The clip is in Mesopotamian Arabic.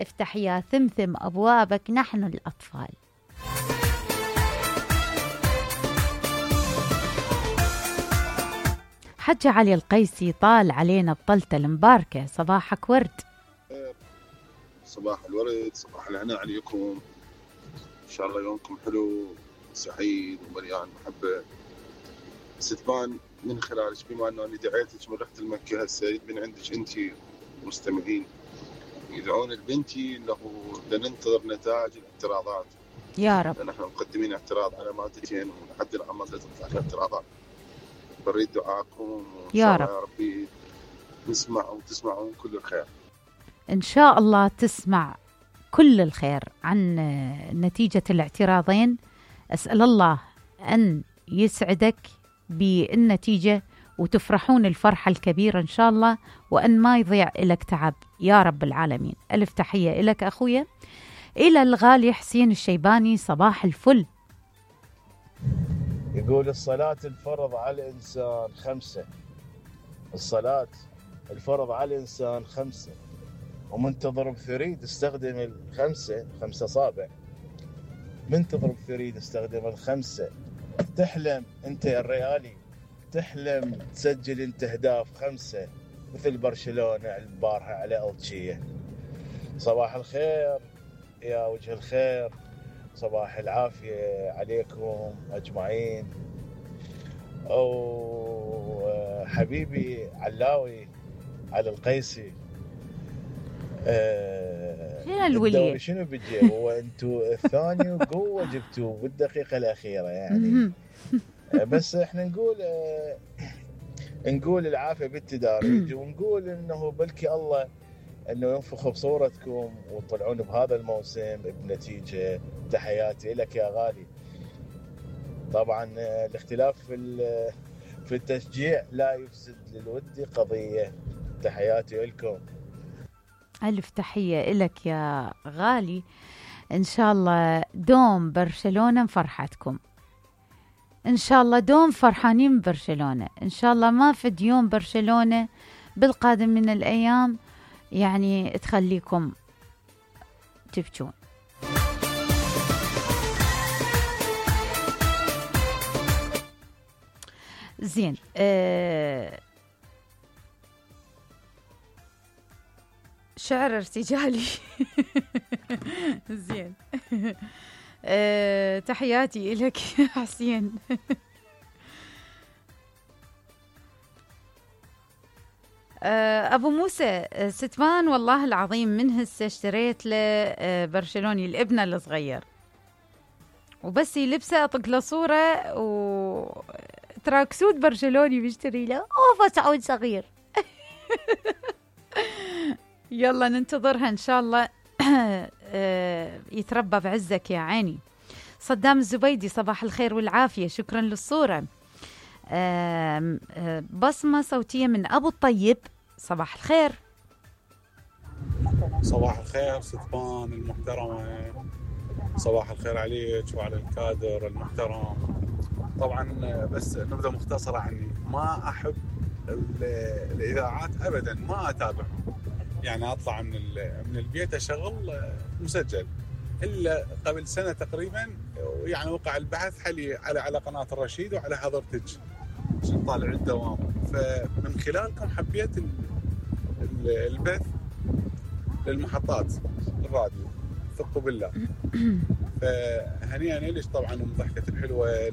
افتح يا ثمثم أبوابك نحن الأطفال. حج علي القيسي طال علينا بطلته المباركة، صباحك ورد. صباح الورد، صباح الهناء عليكم، إن شاء الله يومكم حلو سعيد ومليان محبة. ستبان من خلالك بما أنه أنا دعيتك من رحت المكة، هسه من عندك أنت مستمعين يدعون لبنتي أنه لننتظر نتائج الاعتراضات يا رب، لأن احنا مقدمين اعتراض على مادتين ولحد الآن ما تطلع الاعتراضات. بريد دعاءكم وإن شاء الله يا ربي نسمع وتسمعون كل الخير. إن شاء الله تسمع كل الخير عن نتيجة الاعتراضين. أسأل الله أن يسعدك بالنتيجة وتفرحون الفرحة الكبيرة إن شاء الله، وأن ما يضيع لك تعب يا رب العالمين. ألف تحية لك أخويا. إلى الغالي حسين الشيباني، صباح الفل. يقول الصلاة الفرض على الإنسان 5، الصلاة الفرض على الإنسان 5، ومن تضرب ثريد استخدم 5 أصابع، من تضرب ثريد استخدم 5. تحلم أنت يا الريالي، تحلم تسجل أنت أهداف 5 مثل برشلونة البارحة على ألتشية. صباح الخير يا وجه الخير، صباح العافية عليكم أجمعين. أو حبيبي علاوي على القيسي، الدوري شنو بيجي؟ هو انتوا الثاني وقوة جبتوه بالدقيقة الأخيرة يعني. بس احنا نقول العافية بالتدارج، ونقول انه بلكي الله انه ينفخ بصورتكم وتطلعون بهذا الموسم بنتيجة. تحياتي لك يا غالي. طبعا الاختلاف في التشجيع لا يفسد للود قضية. تحياتي لكم. ألف تحية لك يا غالي. إن شاء الله دوم برشلونة فرحتكم، إن شاء الله دوم فرحانين برشلونة، إن شاء الله ما فد يوم برشلونة بالقادم من الأيام يعني تخليكم تبكون. زين، شعر ارتجالي. زين. تحياتي لك يا حسين. أبو موسى ستمان، والله العظيم من هسه اشتريت له برشلوني الابنة الصغير، وبس يلبسه أطق له صورة وتراكسود برشلوني بيشتري له. أوف تعود صغير. يلا ننتظرها إن شاء الله يتربى بعزك يا عيني. صدام الزبيدي، صباح الخير والعافية، شكرا للصورة. بصمة صوتية من أبو الطيب، صباح الخير. صباح الخير ستبان المحترمة، صباح الخير عليك وعلى الكادر المحترم. طبعا بس نبذة مختصرة عني، ما أحب الإذاعات أبدا، ما أتابعهم. يعني أطلع من البيت أشغل مسجل، إلا قبل سنة تقريبا يعني وقع البحث حلي على قناة الرشيد وعلى حضرتك عشان طالع الدوام، فمن خلالكم حبيت البث للمحطات الراديو، ثقوا بالله. فهنيئا ليش طبعا ضحكة الحلوة